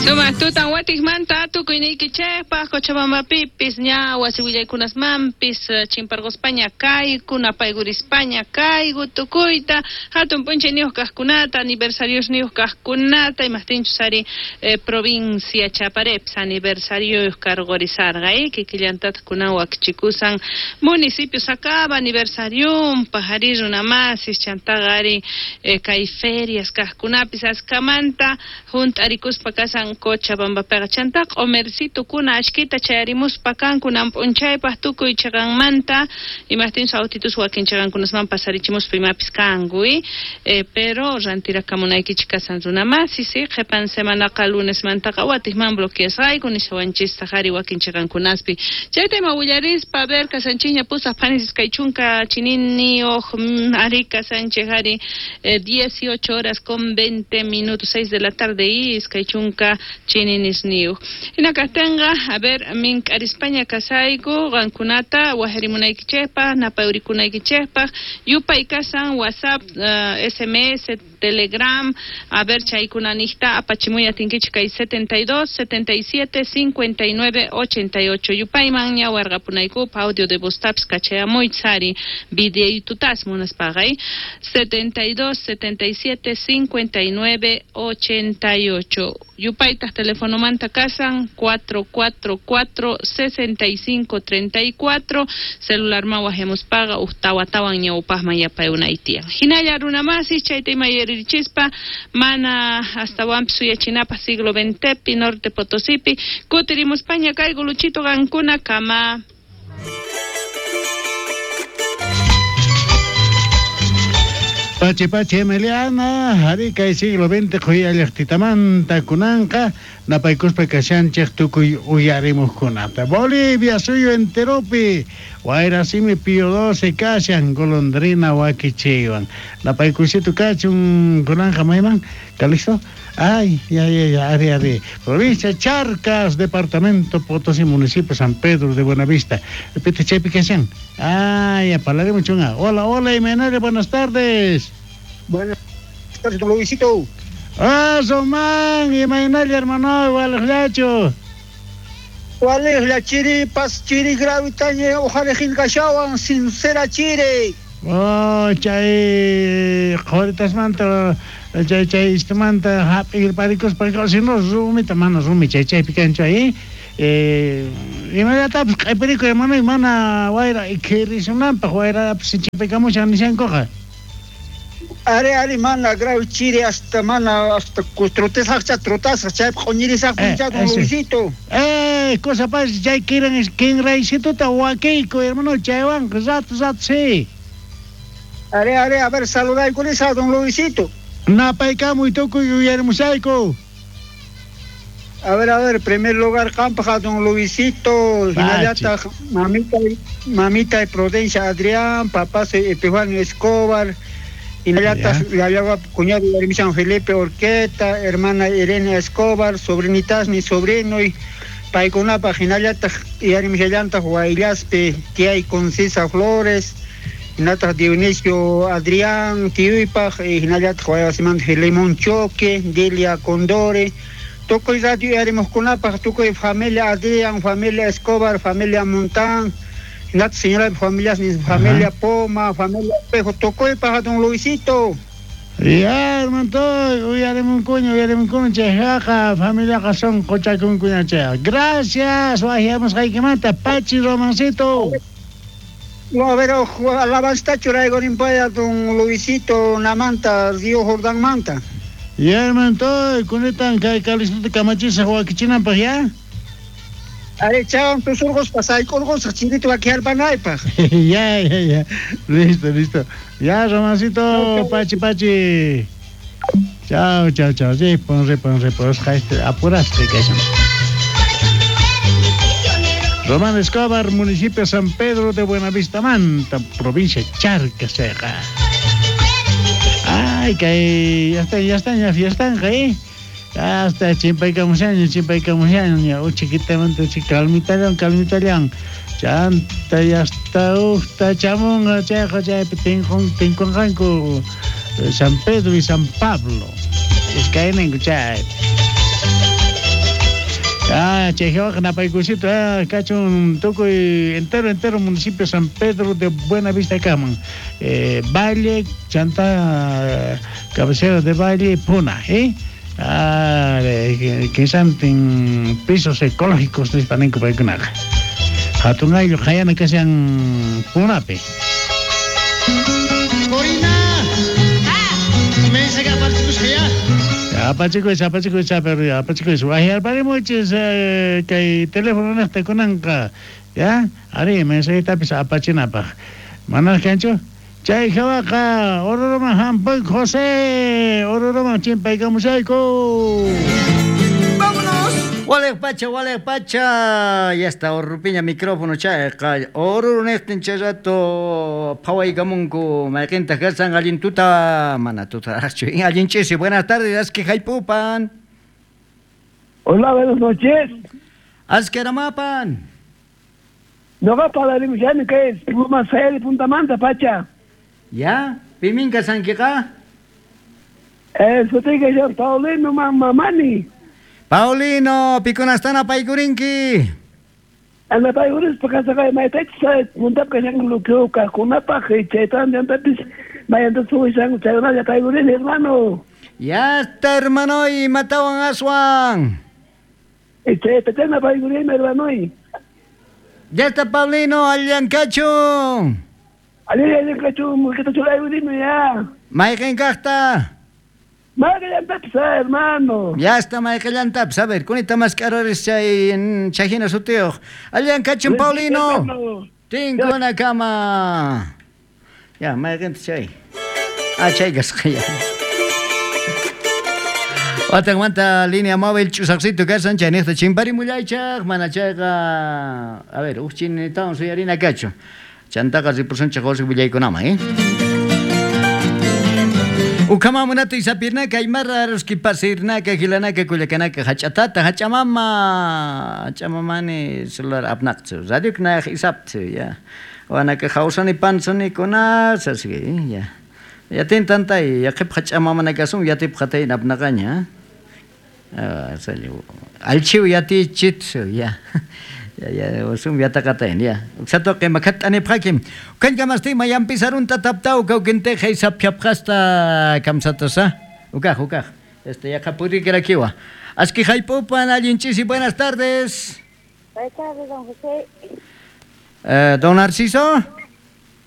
Sumaq tutan watikmanta tukuyniykichejpaj Cochabambapipis ña wasi willaykunasmanpis chimparqospaña kayku, napaykurispaña kayku tukuyta hatun p'unchayniyuq kaqkunata, aniversariosniyuq kaqkunata, imajtinchus ari provincia Chaparepis aniversarioyuq karqorisarqa, kikillantataq kunan wakichikusan municipio Sacaba aniversarionpaj ari runamasis chantaqa ari kay ferias kaqkunapis askamanta hunt'arikuspa kasan Cochabambapiqa chanta q'omercitukuna ashkita chayarimuspa kanku nan p'unchaypaj tukuy chiqanmanta imajtinchus autitus wakin chiqankunasman pasarichimuspa imapis kanku pero rantirakamunaykichik kasan runamasis qhipan semanaqa lunesmantaqa watikman bloqueasqayku nishawanchistaq ari wakin chiqankunaspi chayta ima willarispa a ver kasanchikña pusaq phanis iskay chunka chininiyuq ari kasanchik ari 18 horas con 20 minutos 6 de la tarde y iskay chunka chininisniyuq hina kaqtinqa a ver mink'arispaña kasayku qankunata wajarimunaykichikpaq napayurikunaykichikpaq yupay kasan WhatsApp SMS Telegram a ver chaykunaniqta apachimuy atinkichik kay 72 77 59 88 yupayman ña warqapunaykupaq audio de voz tapis kachayamuychis ari videitutas munaspaqa 72 77 59 88 yupaytaq telefonomanta kasan 444 65 34 celularman wajamuspaqa uj tawatawan ñawpaqman yapayunay tiyan hinalla runamasis chayta ima yaririchispa mana astawanpis suyachinapaq siglo XXpi Norte Potosipi kutirimuspaña kayku Luchito qankuna kama. Pachi pachi Emiliana, ari kay siglo XX qhuyallaqtitamanta kunanqa napaykuspa kashanchik tukuy uyarimuqkunata. Bolivia suyu enteropi wayrasimi Pío XII kashan golondrina wakichiywan. Napaykusitu kachun kunanqa mayman Calixto? Ay, ya, ya, ya, ari, ari. Provincia Charcas, departamento Potosí, municipio San Pedro de Buenavista. Repite, chaypi kashan. Ay, ya, parlarimuchunqa. Hola, hola, Imenare, buenas tardes. Buenas tardes, don Luisito. Ah, Román, imaynalla, hermano, waliqllachu. Waliqlla, chiri, pas, chiri, gravitaña, ojalá kashawan, sincera chiri. Oh, chay qhoritasmanta, chay chay istumanta hap'irparikuspa, si no rumita mana rumi chay chaypi kanchu ahí. Imallatapis q'ipirikuy hermano, mana wayra ikhirisunanpaq wayrapis sinchipaykamushan nishankuqa. Ari, ari, mana grave chiri hasta mana hasta trotasaq trotasaq chaypi q'uñirisaq puncha don Luisito. Cosa pas chay kiran kinraysituta wakiyku hermano chaywanqa rato rato sí. Ari, ari, a ver, saludaykunisa don Luisito. Napaykamuy tukuy uyarimushayku. A ver, primer lugar qampaq don Luisito, hinallataq mamita, mamita y Prudencia Adrián, papá Epifanio Escobar, hinallataq yaya cuñado San Felipe Orqueta, hermana Irene Escobar, sobrinitas ni sobrino y paykunapaq hinallataq yarimishallantaq Huayllaspi tiyay Concisa Flores, hinallataq Dionisio Adrián tiyuypaq, hinallataq waywasimanta Filemón Choque, Delia Condore, tukuy radio yarimuqkunapaq, tukuy familia Adrián, familia Escobar, familia Montán, hinallataq señora familias ni familia Poma, familia Espejo, tukuypaq don Luisito. Ya, hermano, uyarimunkuña, uyarimunkuña, chayqa familiaqa son qochakunkuña chay. Gracias, wahiamusqaykimanta, Pachi Romancito. No, a ver, alabanza churaykurinpaya don Luisito namanta, Río Jordán manta. Ya, hermano, kunitan kay Calixtota kamachisaq wakichinanpaq, ya? Ari, chawan tusurquspa sayk'urqusaq chirito wakiharpanaypaq. Ya, ya, ya. Listo, listo. Ya, Romancito, pachi, pachi. Chao, chao, chao. Ripun, ripun, ripun. Apuraste kashan. Román Escobar, municipio San Pedro de Buenavista, Manta, provincia Charcas, chayqa. Ay, kay ya está, ya está, ya fiestan, ¿eh? Hasta chimpaykamushaña, chimpaykamushaña, uchikitamanta uchi calmitallan, calmitallan. Chanta ya está uqta chamunqa chayqa chaypi tinkunqanku San Pedro y San Pablo. Iskayninku chay. Ah, chay hawaqa napaykusito, kachun tukuy entero entero municipio San Pedro de Buenavista kaman. Valle, chanta cabecera de Valle, Puna, ¿eh? Ah, kinsantin pisos ecológicos nispa ninku paykunaqa. Hatun ayllu qayana kashan Punapi. Corina! Mensaje aparchikusqa ya. Apachikuy, apachikuy, pero apachikuy. Wajyarparimuchis kay teléfono niqta kunanqa. Ya, ari mensajitapis apachinapaq. Manaraq kanchu? Chay hawaqa Oruruman hampuk José, Oruruman chimpaykamushayku. ¡Vámonos! Walej pacha, walej pacha. Ya está, Orrupiña micrófono chayqa. Oruro niqtin chay rato phawaykamunku mayqintaq kasan allin tuta, mana tutaraqchu. Allin ch'isi. Buenas tardes, aski haypupan. Hola, buenas noches. Aski aramapan. Noqa parlarimushani kay Pluma Sayari Puntamanta, pacha. Ya, piminka sankiqa? Sutiyqa señor Paulino Mamani. Paulino, pikunastana paykurinki. Anapaykurispa kasaqay maytachus puntap kashanku luqueo kaqkunapaq chaytan llantapis mayanta suwishanku chaykunalla paykurini, hermano. Ya está, hermano, matawan aswan. Chaytachana paykurini, hermano. Ya está, Paulino, allankachu. Allankachu, mulkita chulaykurini ya. Mayqin kaqta? Mayqillantapis, hermano. Ya está, mayqillantapis. A ver, kunita mask'araris chay chayhina sutiyuq. Allankachu, Paulino. Tinkunakama. Ya, mayqinta chay. Ah, chay kasqa ya. Watanmanta línea móvil ch'usaqsitu kasan chayniqta chimparimullaychaq mana chayqa a ver, uj chinitawan suyarina kachu. Chantaqa ripusunchaq wasi willaykunaman, ¿eh? Ukamamunata isapirnaka, aymarra, ruskipasirnaka, gilanaka, kullakanaka, hach'atata, hach'amama, hach'amamani celular apnaqchu, radioknaq isapchu, ya. Wanaka hawsani pansani kuna, sasgi, ya. Yatin tantay, yaqip hach'amamana kasun, yatip qatay apnaqaña. Ah, sali. Alchiw yati chitsu, ya. Ya, ya, usum yataqatayn, ya. Uksatoqi makhat'anipqakim. Ukankamastin mayampisarunta taptaw kawkinteja isaphiapqasta kamsatasa. Ukaj, ukaj. Este yaqa purikirakiwa. Aski haypupan allin ch'isi, buenas tardes. Buenas tardes, don José. Don Narciso.